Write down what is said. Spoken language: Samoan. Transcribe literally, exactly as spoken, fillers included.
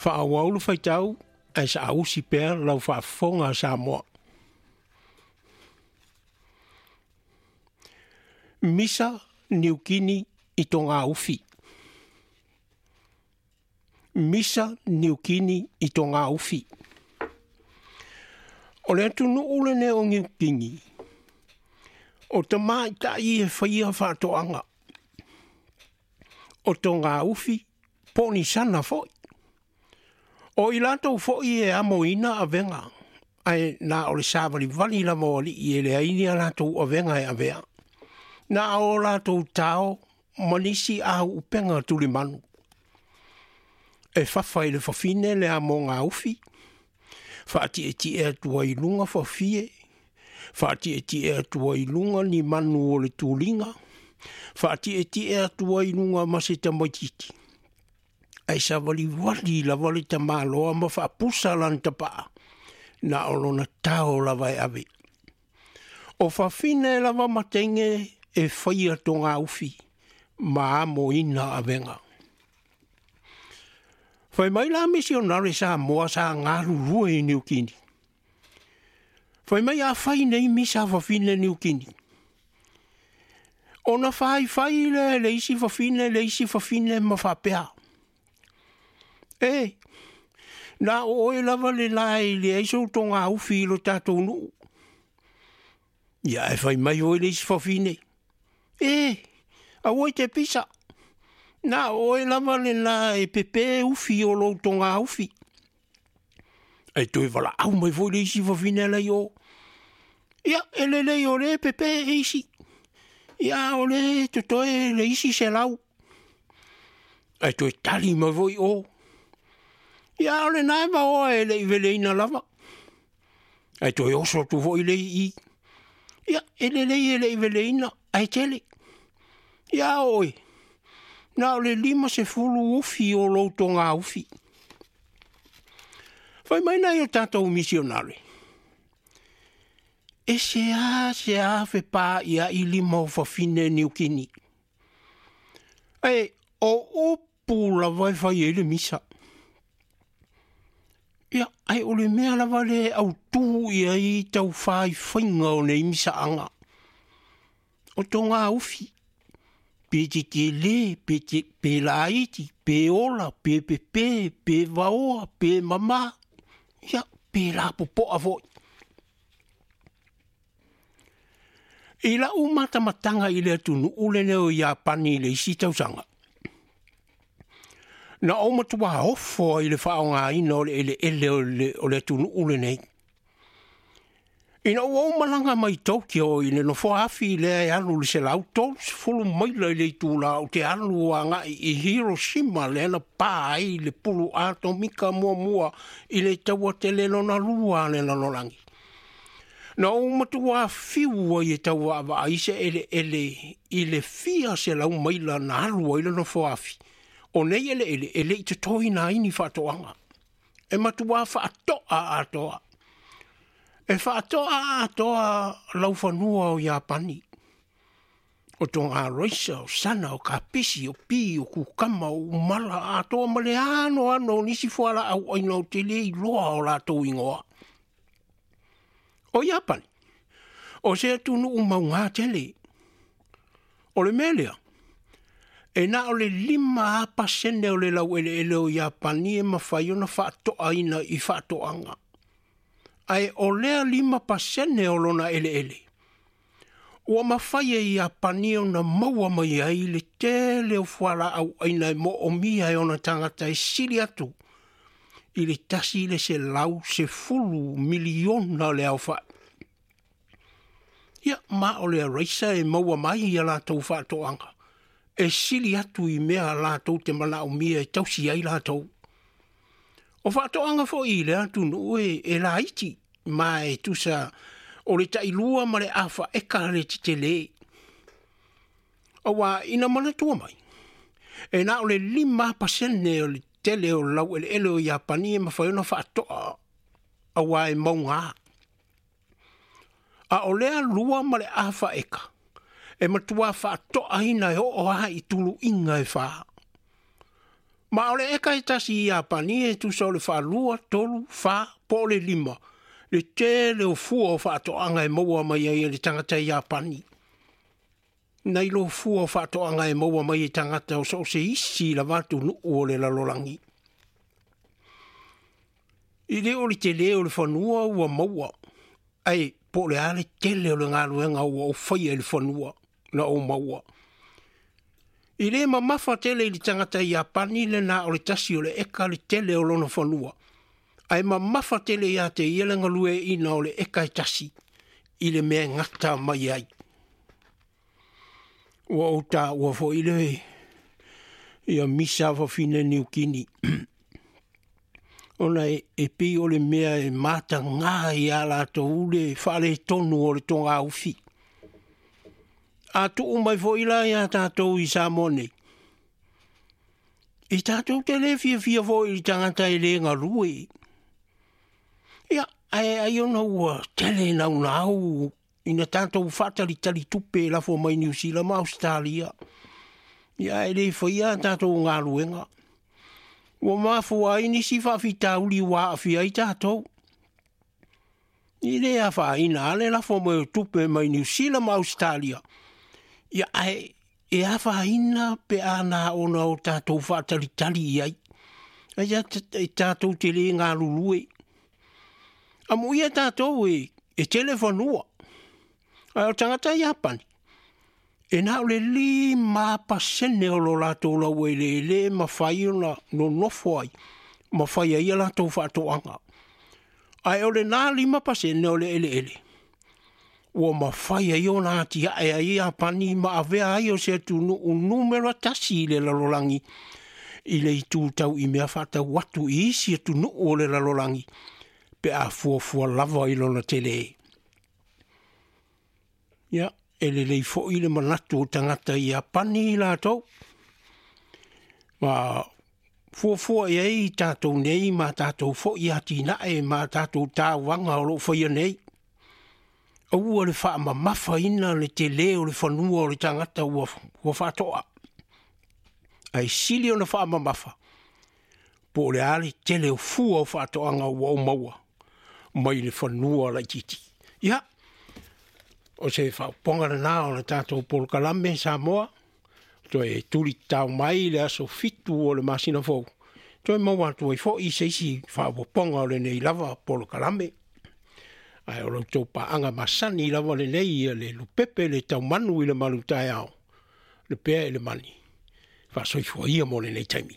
Faaauau le faitau ae saausi pea lau faafofoga a Samoa. Misa Niukini i Togaufi. Misa Niukini i Togaufi. O le atunuu lenei o Niukini, o tamaitai e faia faatoaga, o togaufi po o ni sana foi. O i latou foi e amoina avega, ae na o le savalivali lava o alii e leai ni a latou avega e avea. Na o latou tao ma nisi auupega tulimanu. E fafa i le fafine le amoga ufi, faatietie atu ai i luga fafie, faatietie atu ai i luga ni manu o le tuliga, faatietie atu ai i luga ma se tamaitiiti. Ae savalivali lava le tamaloa ma faapusa lana tapaa, na o lona tao lava e ave. O fafine lava ma teine e faia togaufi ma amoina avega. Fai mai la misionare Samoa sa galulue i Niukini. Fai mai a fai nei misa fafine Niukini. Ona faifai le le isi fafine le isi fafine ma faapea. E, na o oe lava le la e leai sou togaufi i lo tatou nuu. Ia e fai mai foi le isi fafine. E, aua i te pisa. Na o oe lava le la e pepe ufi o lou togaufi. E toe valaau mai foi le isi fafine la i o. Ia, e lelei o le pepe e isi. Ia, o le totoe le isi selau. E toe tali mai foi o. Ia, o le nae vaoa e le i veleina lava. E toe oso atu foi le i. Ia, e lelei e le i veleina, ae tele. Ia, oe, na o le lima sefulu ufi o lou togaufi. Fai mai nai o tatou misionare. E se a se a fepa ia i lima o fafine Niukini. E o upu lava e fai ai le misa. Ia, ae o le mea lava le autū ia i tau faifaiga o nei misaaga. O togaufi, pe tetele, pe, te, pe laiti, pe ola, pe pepe, pe vaoa, pe mama, ia, pe lapopoa foi. I lau matamataga i le atunuu lenei o Iapani i le isi tausaga. Na ou matua ofo ai i le faaaogaina o le eleele o le, o le atunuu lenei. Ina ua ou malaga mai Tokyo i le nofoa afi lea e alu i le selau tolu sefulu maila i le itula ou te alu agai i Hiroshima lea na pa ai le pulu atomika muamua i le taua tele lona lua a le lalolagi. Na ou matua fiu ai e tau vaavaai se eleele i le fia selau maila na alu ai le nofoa afi. O nei eleele e le i totoina ai ni faatoaga. E matua faatoa atoa. E faatoa atoa laufanua o Iapani. O toga roisa, o sana, o kapisi, o pi, o kukama, o umala, atoa ma le ano ano o nisi fualaau aina ou te le iloa o latou igoa. O Iapani, o se atunuu mauga tele. O le mea lea, e na o le lima pasene o le laueleele o Iapani e mafai ona faatoaina i faatoaga. Ae o lea lima pasene o lona eleele, ua mafai e Iapani ona maua mai ai le tele o fualaau aina e moomia e ona tagata e sili atu i le tasi le selau sefulu miliona le aofai. Ia, ma o le araisa e maua mai ia latou faatoaga, e sili atu i mea latou te manaomia e tausi ai latou. O faatoaga foi i le atunuu e, e laiti, ma e tusa o le tailua ma le afa eka le tetele. Aua ina manatua mai, e na o le lima pasene o le tele o laueleele o Iapani e mafai ona faatoa, aua e mauga. A o lea lua ma le afa eka, e matua faatoaina e oo lava i tuluiga e fa. Ma o le eka e tasi i Iapani e tusa o le faalua, tolu, fa, po o le lima, le tele o fua o faatoaga e maua mai ai e le tagata i Iapani. Nai lo fua o faatoaga e maua mai e tagata o so o se isi lava atunuu o le lalolagi. I le o le tele o le fanua ua maua, ae po o le a le tele o le galuega ua ou faia i le fanua na ou maua. I le mamafa tele i le tagata i Iapani le na o le tasi o le eka le tele o lona fanua, ae mamafa tele ia te ia le galueaiina o le eka e tasi i le mea e gata mai ai. Ua ou taua foi le ia misa fafine Niukini. Ona e, e pei o le mea e matagā ia latou le faaletonu o le togaufi. A tuu mai foi la ia tatou i Samoa nei, i tatou te le fiafia foi i le tagata e le galue. Ia, ae ai ona ua tele naunau ina tatou faatalitali tupe e lafo mai Niu Sila ma Ausetalia. Ia, e le faia tatou galuega. Ua mafua ai nisi faafitauli ua aafia ai tatou. I le afaina a le lafo mai o tupe mai Niu Sila ma Ausetalia. Ia, ae e afaina pe a na ona o tatou faatalitali i ai. Ai a e tatou te le galulue. Amuia tatou e, e tele fanua. Ae o tagata Iapani, e na o le lima pasene o lo latou laueleele e mafai ona nonofo ai, ma fai ai a latou faatoaga. Ae o lena lima pasene o le eleele, ua mafai ai ona atiae ai Iapani ma avea ai o se atunuu numera tasi i le lalolagi, i le itu tau i mea faatau atu i isi atunuu o le lalolagi, pe a fuafua lava i lona tele. Ia, e lelei foi le manatu o tagata i Iapani i latou. Ma fuafua i ai tatou nei ma tatou foi atinae ma tatou tauvaga o loo faia nei. Aua le faamamafaina le tele o le fanua o le tagata ua, ua faatoa. Ae sili ona faamamafa, po o le a le tele o fua o faatoaga ua ou maua mai le fanua laitiiti. Ia, o se faaopoga lenā o le tatou polokalame Samoa, toe tuli tatao mai le aso fitu o le masina fou, toe maua atu ai foi se isi faaopopoga o lenei lava polokalame. Ae o lo outou paaga masani lava lenei ia le lupepe le taumanu i le malutaeao, le pea i le mani, faasoifua ia mo lenei taimi.